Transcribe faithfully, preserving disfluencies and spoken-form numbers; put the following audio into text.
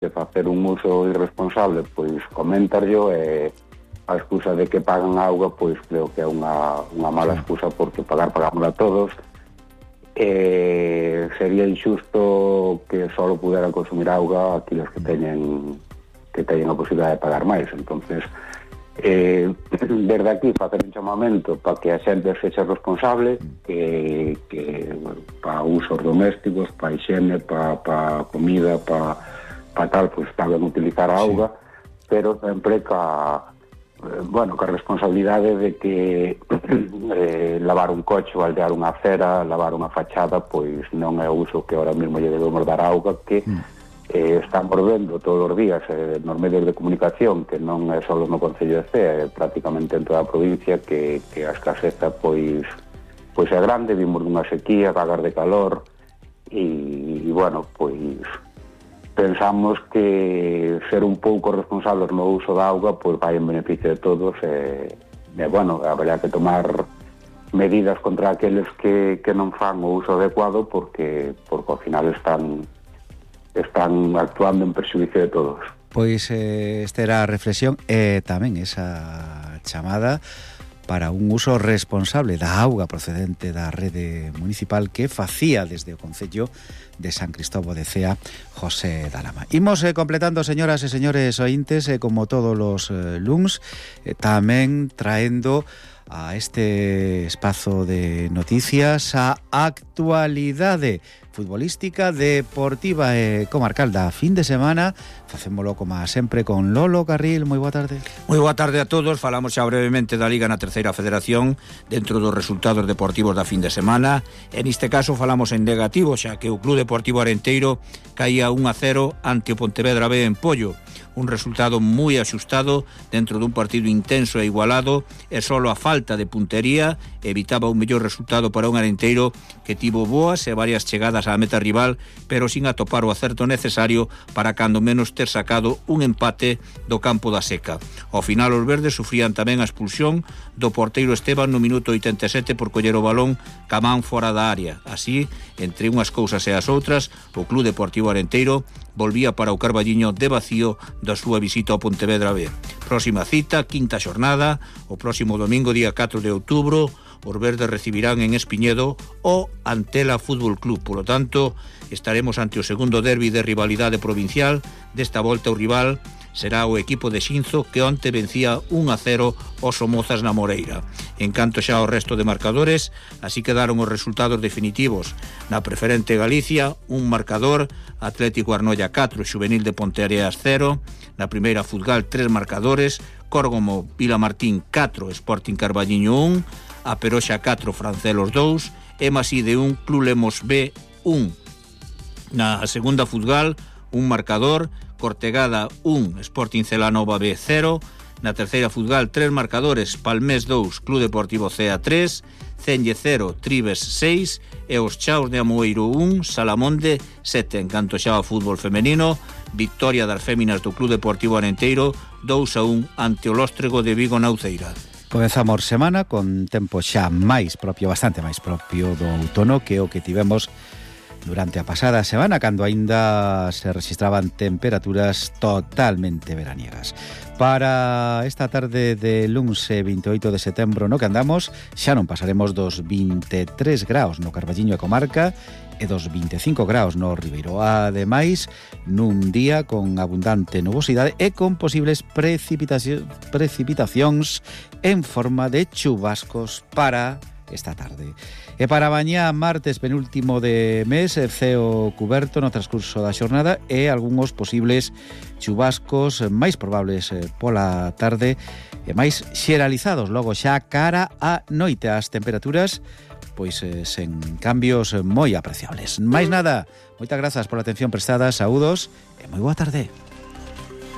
de facer un uso irresponsable, pois coméntarlo, e a excusa de que pagan auga, pois creo que é unha, unha mala excusa, porque pagar pagámosla todos. Eh, sería injusto que só puderan consumir auga aqueles que teñen que teñen a posibilidade de pagar máis. Entonces, eh, desde aquí facer un chamamento para que a xente sexa responsable, que, que bueno, para usos domésticos, para higiene, para, para comida, para para tal, pois está ben utilizar a auga, sí, pero sempre ca, eh, bueno, ca responsabilidade de que eh, lavar un coche ou aldear unha acera, lavar unha fachada, pois non é o uso que ahora mesmo lle debemos dar a auga, que mm. eh, estamos vendo todos os días eh, nos medios de comunicación, que non é só no Concello de Cea, é prácticamente en toda a provincia, que, que a escaseza pois, pois é grande, vimos dunha sequía, vagas de calor, e, e bueno, pois pensamos que ser un pouco responsables no uso da auga pois vai en beneficio de todos, e, e bueno, haberá que tomar medidas contra aqueles que, que non fan o uso adecuado, porque, porque ao final están están actuando en perxuízo de todos. Pois eh, esta era a reflexión e tamén esa chamada para un uso responsable da auga procedente da rede municipal que facía desde o Concello de San Cristóbal de Cea José Dalama. Imos eh, completando, señoras e señores ointes, eh, como todos os eh, luns, eh, tamén traendo a este espazo de noticias a actualidade futbolística, deportiva e comarcal da fin de semana. Facémolo como sempre con Lolo Carril. Moi boa tarde. Moi boa tarde a todos. Falamos xa brevemente da Liga na terceira federación dentro dos resultados deportivos da fin de semana. En este caso falamos en negativo, xa que o Club Deportivo Arenteiro caía un a cero ante o Pontevedra B en Pollo. Un resultado moi axustado dentro dun partido intenso e igualado, e solo a falta de puntería evitaba un mellor resultado para un Arenteiro que tivo boas e varias chegadas á meta rival, pero sin atopar o acerto necesario para cando menos ter sacado un empate do campo da Seca. Ao final os verdes sufrían tamén a expulsión do porteiro Esteban no minuto oitenta e sete por coller o balón camán fora da área. Así, entre unhas cousas e as outras, o Club Deportivo Arenteiro volvía para o Carballiño de vacío da súa visita ao Pontevedra B. Próxima cita, quinta xornada, o próximo domingo, día catro de outubro, os verdes recibirán en Espiñedo o Antela Fútbol Club. Por lo tanto, estaremos ante o segundo derbi de rivalidade provincial. Desta volta o rival será o equipo de Xinzo, que onte vencía un a cero os Somozas na Moreira. En canto xa ao resto de marcadores, así quedaron os resultados definitivos. Na preferente Galicia, un marcador, Atlético Arnoia catro, Xuvenil de Ponteareas cero. Na primeira Futgal, tres marcadores, Córgomo Vilamartín catro, Sporting Carballiño un, A Peroxa catro, Francelos dous, e Maside un, Club Lemos B un. Na segunda Futgal, un marcador, Cortegada un, Sporting Celanova B cero. Na terceira Futgal, tres marcadores, Palmés dous, Club Deportivo Cea tres, Cenlle cero, Tribes seis, e os Chaos de Amoeiro un, Salamonde sete. En canto xa ao fútbol femenino, victoria das féminas do Club Deportivo Arenteiro dous a un ante o Lóstrego de Vigo na Uceira. Comezamos semana con tempo xa máis propio, bastante máis propio do outono que o que tivemos durante a pasada semana, cando aínda se registraban temperaturas totalmente veraniegas. Para esta tarde de luns veintioito de setembro no que andamos, xa non pasaremos dos vinte e tres graus no Carballiño e comarca e dos vinte e cinco graus no Ribeiro. Ademais, nun día con abundante nubosidade e con posibles precipitacións, precipitacións en forma de chubascos para esta tarde. E para mañá, martes penúltimo de mes, ceo cuberto no transcurso da xornada e algúns posibles chubascos máis probables pola tarde e máis xeralizados logo xa cara a noite. As temperaturas pois eh, sen cambios moi apreciables. Máis nada, moitas grazas pola atención prestada, saúdos e moi boa tarde.